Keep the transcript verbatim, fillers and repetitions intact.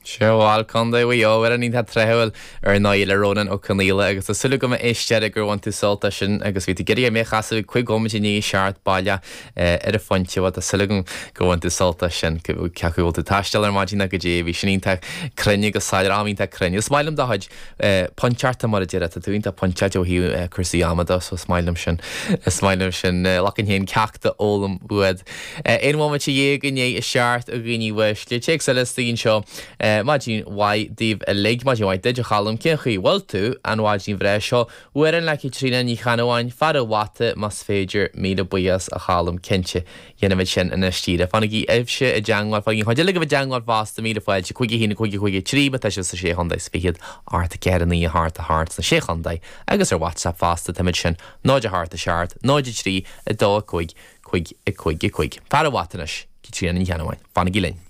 Seo bhuel Contae Mhaigh Eo amhrán iontach tráthúil ar ndóigh le Rónán Ó Conghaile agus tá súil agam a éisteoir gur bhain tú sult as sin agus bhí tú ag iarraidh mé a chasadh ag cúig nóiméad i ndiaidh a seacht baileach ar an phointe bhuel tá súil agam gur bhain tú sult as sin cé acu bhfuil tú ag taisteal ar maidin nó goidé bhí sin iontach cruinn agus soiléir am iontach cruinn. Is maith liom do chuid pointeachta mar a deir tá tú iontach pointeáilte ó thaobh cúrsaí ama de so is maith liom sin is maith liom sin glacann féin ceacht a fhoghlaim uait. Aon bhomaite dhéag i ndiaidh a seacht a dhaoine uaisle téacs eile istigh anseo Maidin mhaith daoibh uilig, maidin mhaith duit a Cholm, cén chaoi bhfuil tú an mhaidin bhreá seo? Amhrán le Caitríona Ní Cheannabháin, Fear an Bhata más féidir, míle buíochas a Cholm, cinnte, dhéanfaimid sin anois díreach. Fanaigí sibhse i dteangmháil, fanaigí an chuid eile agaibh i dteangmháil fosta, míle fáilte, cúig a haon, cúig a cúig a trí, má tá sibh sa sé chontae is fichead, ocht a ceathair a naoi a hocht a hocht sna sé chontae agus ar WhatsApp fosta, táimid sin, náid a hocht a seacht, náid a trí, a dó a cúig, cúig a cúig a cúig. Fear an Bhata anois, Caitríona Ní Cheannabháin. Fanaigí linn.